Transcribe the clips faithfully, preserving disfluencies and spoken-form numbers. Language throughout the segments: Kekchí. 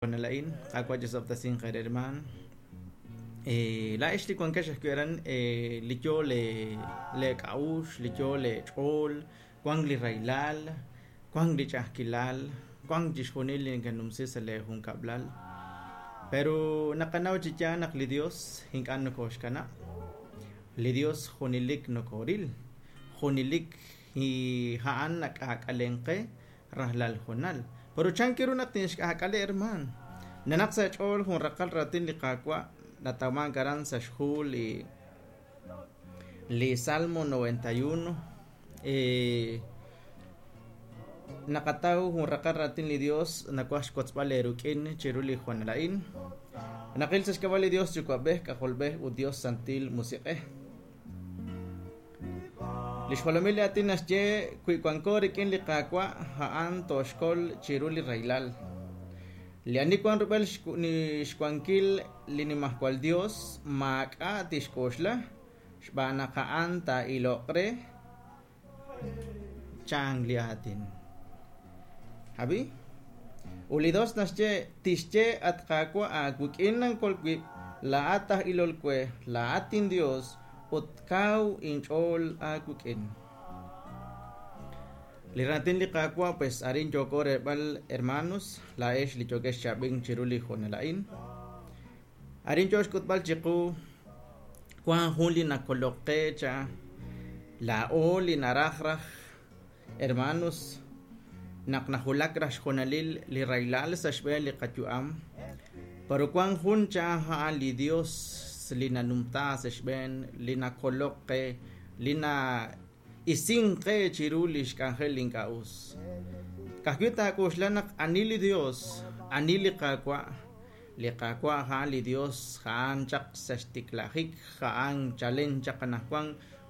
Nalain, Qaawa' chisob'tesinq eere hermaan. Laa'ex li wankex ajwi' aran li yo leek'a'uxl, li yo leech'ool, wank li rahilal, wank li ch'a'ajkilal, wank chixjunil li nekenumsi sa' leejunkab'lal. Pero naqanaw chi yaal naq li Dios ink'a' nokooxkanab'. Li Dios junelik nokooril, junelik a'an nak'aak'alenk qe rajlal honal. Pero chan ru naq tinxk'aak'ale hermaan. Nanaq sa' ch'ool jun raqal raatin li Qaawa' natawmank aran sa' xhu li li Salmo noventa y uno. Naqataw jun raqal raatin li Dios nawaj xkotzb'al eeruk'in chiru li honal a'in. Naqil sa' xk'ab'a' li Dios Yuwa'b'ej, K'ajolb'ej ut Dios Santil Musiq'ej. Li xjolomil li aatin naxye wi wanko rik'in li Qaawa' a'an tooxkol chiru li rahilal. Li ani wan rub'el xwankil li nimajwal Dios maak'a' tixk'oxla xb'aan naq a'an taa'iloq re chan li aatin. Abi? Ut li Dios naxye tixye at Qaawa' aawik'in nankol wib' laa'at aj ilol we laa'at inDios ut kaw inch'ool aawik'in. Li raatin li Qaawa' pues arin yooko reeb'al hermanos laa'ex li yookex chaab'ink chiru li honal a'in. Arin yoo xk'utb'al chiqu wan jun li nakolok qe cha laa'o li naraj raj hermanos naq najulak raj xjonalil li rahilal sa' xb'een li qayu'am. Pero wan jun cha a'an li Dios li nanumta sa' xb'een li nakolok qe li na isink qe chiru li xk'anjel li ink'a' us. Ka'ajwi' taak'oxla naq ani li Dios, ani li Qaawa', li Qaawa' a'an li Dios a'an chaq sa' xtiklajik, a'an chalen chaq anajwan,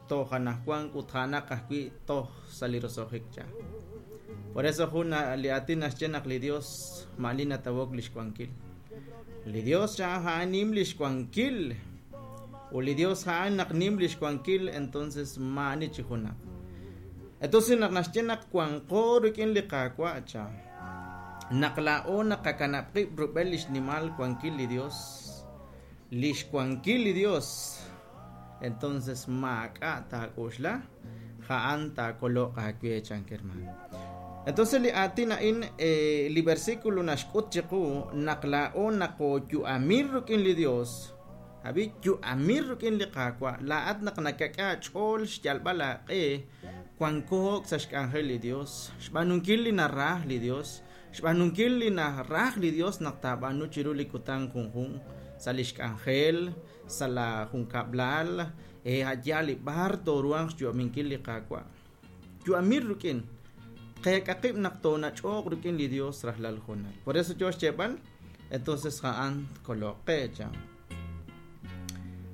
toj anajwan ut a'anaq ajwi' toj sa' li roso'jik cha. Por eso jun li aatin naxye naq li Dios ma'ani natawok li xwankil. Li Dios cha a'an nim li xwankil. Ut li Dios a'an naq nim li xwankil, entonces ma'ani chi junaq. Entonces naq naxye naq wanqo rik'in li Qaawa' cha. Naq laa'o naqakanab' qib' rub'el li xnimal wankil li Dios, li xwankil li Dios, entonces maak'a' taak'oxla, a'an taakoloq aawe chan hermano. Entonces li aatin a'in li versículo naxk'ut chiqu naq laa'o naqooyu'amil rik'in li Dios. Abi yu'amil rik'in li Qaawa' laa'at naq nakak'e aach'ool xyalb'al aaq'e wankook sa' xk'anjel li Dios, xb'aanunkil li naraj li Dios, xb'aanunkil li naraj li Dios naq taab'aanu chiru li kutan junjun sa' li xk'anjel, sa' la junkab'lal, e a'yaal li b'ar tooruhanq xyu'aminkil li Qaawa'. Yu'amil rik'in qeek'aqib' naq toonach'ooq rik'in li Dios rajlal honal. Por eso yo xyeeb'al, entonces a'an tkoloq qe cha.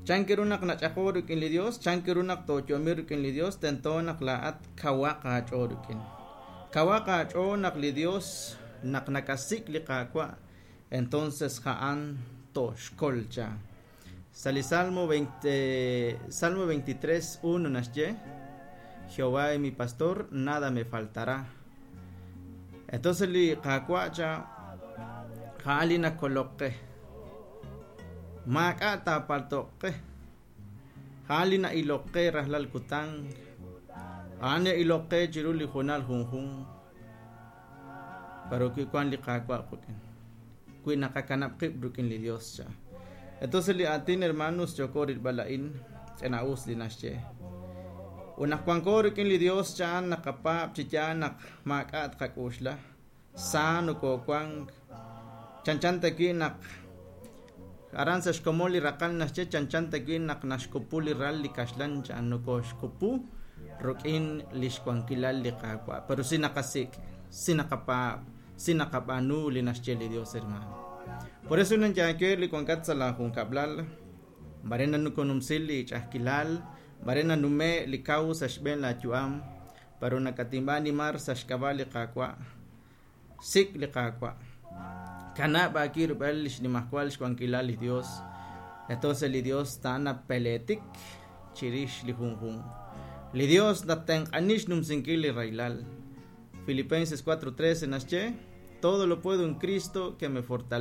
Chan ru naq nach'aqo rik'in li Dios, chan ru naq tooyu'amil rik'in li Dios, tento naq laa'at kawaq aach'ool rik'in. Kawaq aach'ool naq li Dios naq nakasik' li Qaawa', entonces a'an toxkol cha. Sa' li Salmo veinte, Salmo veintitrés uno naxye, Jehová es mi pastor, nada me faltará. Entonces li Qaawa' cha a'an li nakolok qe. Maak'a' taapaltoq qe. A'an li na'ilok qe rajlal kutan. A'an na'ilok qe chiru li honal junjun. Pero wi wan li Qaawa' qik'in. Wi naqakanab' qib' rik'in li Dios cha. Entonces li aatin hermanos yooko rilb'al a'in ch'ina'us li naxye. Ut naq wanko rik'in li Dios cha naqapaab' chi yaal naq maak'a' tqak'oxla. Sa nokoowank. Chanchan tawi' naq aran sa' xkomon li raqal naxye chanchan tawi' naq naxkupu li ral li kaxlan cha nokooxkupu rik'in li xwankilal li Qaawa'. Pero si naqasik', si naqapaab', si naqab'aanu li naxye li Dios hermano. Por eso nanyaake li wankat sa' la junkab'lal, mare nanukonumsil li ch'a'ajkilal, mare nanume li kaw sa' xb'een la yu'am, pero nakatinb'a animar sa' xk'ab'a' li Qaawa'. Sik' li Qaawa'. Kanab' aawib' rub'el li xnimajwal xwankilal li Dios. Entonces li Dios ta'ana peletik chirix li junjun. Li Dios natenq'ani xnumsinkil li rahilal. Filipenses cuatro trece naxye, Todo lo puedo en Cristo que me fortalece.